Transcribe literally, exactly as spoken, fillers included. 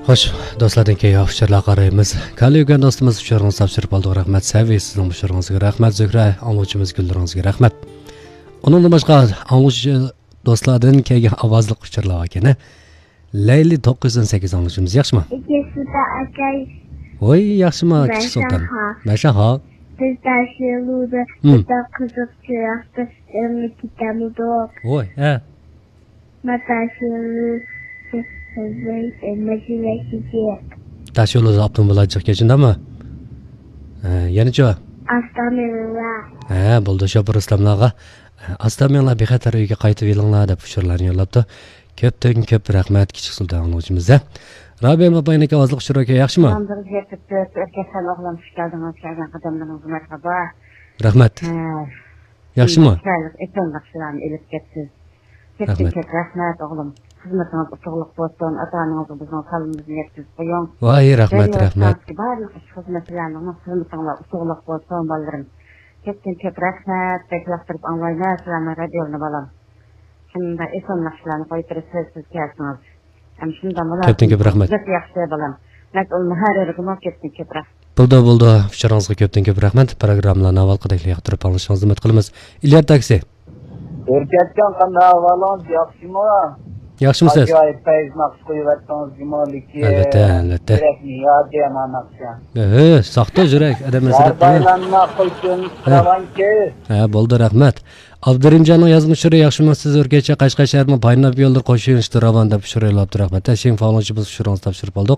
خوش، دوستلاردىن كېيىن ئۇچۇرلارغا قارايمىز. كالىيۇگەن دوستىمىز ئۇچۇرىڭىزنى تاپشۇرۇپ قالدۇق. رەھمەت سەۋى، سىزنىڭ ئۇچۇرىڭىزغا رەھمەت. زۆھرە ئاڭلىغۇچىمىز گۈللىرىڭىزگە رەھمەت. ئۇنىڭدىن باشقا ئاڭلىغۇچى دوستلاردىن كەلگەن ئاۋازلىق ئۇچۇرلار باركەن. لەيلى توققۇز يۈز ئون سەككىز ئاڭلىغۇچىمىز، ياخشىمۇ؟ ئەكەسىدا ئاكاي. ۋوي، ياخشىمۇ، كىچىك سۇلتان؟ مەشەھا. مەشەھا. بىز تاشيولدا، ھىم. بىردەم قىزىق چىراغدا ئۆمە كېتەمدۇق. ۋوي، ھە. ما تاشيولى، ماشىنا كېتىپ. تاشيولدا ئاپتوموبىللار جىق كەچ، شۇنداقمۇ؟ ھە، يەنىچۇ؟ ئاستا مېڭىڭلار. ھە، بولدى، شوپۇر ئۇستاملارغا. ئاستا مېڭىڭلار، بىخەتەر ئۆيگە قايتىپ يېلىڭلار، دەپ ئۇچۇرلارنى يوللاپتۇ. كۆپتىن كۆپ رەھمەت، كىچىك سۇلتان ئاڭلىغۇچىمىزدە. رابىيە موبايلىنىڭكى ئاۋازلىق ئۇچۇرى ئاكا، ياخشىمۇ؟ سالام، بىر يەتتە تۆت، ئۆركەشلەر ئوغلۇم، خۇش كەلدىڭىز، كەلگەن قەدەملىرىڭىزگە مەرھابا. رەھمەت. ھە. ياخشىمۇ؟ چىرايلىق، ئېسەن ناخشىلارنى ئېلىپ كەپسىز. كۆپتىن رەھمەت. كۆپ رەھمەت، ئوغلۇم. خىزمىتىڭىز ئۇتۇقلۇق بولسۇن، ئاتا-ئانىڭىزغا بىزنىڭ سالىمىمىزنى يەتكۈزۈپ قويۇڭ. ۋاي، رەھمەت، رەھمەت. بارلىق ئىش خىزمەتلەرنىڭ خىزمىتىڭلار ئۇتۇقلۇق بولسۇن، بالىلىرىم. كۆپتىن كۆپ رەھمەت، بەك ياقتۇرۇپ ئاڭلايمەن سىلەرنىڭ رادىيولىرىنى، بالام. شۇنداق ئېسىل ناخشىلارنى قويۇپ بېرىسىز، سىز كەلسىڭىز. ھەم شۇنداق بولار. كۆپتىن كۆپ رەھمەت. بەك ياخشى، بالام. مەسئۇل مۇھەررىرىگىمۇ كۆپتىن كۆپ رەھمەت. بولدى، بولدى. ئۇچۇرىڭىزغا كۆپتىن كۆپ رەھمەت. پروگراممىلارنى ئاۋۋالقىدەكلا ياقتۇرۇپ ئاڭلىشىڭىزنى ئۈمىد قىلىمىز. ئىليار تاكسى. ئۆركەتجان، قانداق ئەھۋالىڭىز؟ ياخشىمۇ؟ ياخشىمۇ سىز؟ ئاجايىپ پەيز ناخشا قويۇۋەتتىڭىز جۇمۇ، لېكىن ئەلۋەتتە، ئەلۋەتتە. يۈرەكنى يادى يامان ناخشا. ھە، ساختا يۈرەك، ئادەم ھەزرەت. يار بايلانما قويچۇن، ھە. كىراۋانكى. ھە، بولدى، رەھمەت. ئابدۇرېھىمجاننىڭ يازما ئۇچۇرى، ياخشىمۇ سىز؟ ئۆركەتچە، قەشقەر شەھىرىنىڭ پايناپ يوللىرى قوشۇن ئىشتۇ راۋان، دەپ ئۇچۇر يوللاپتۇ، رەھمەت. تەشرىپ فالونچىمىز ئۇچۇرىڭىزنى تاپشۇرۇپ ئالدۇق.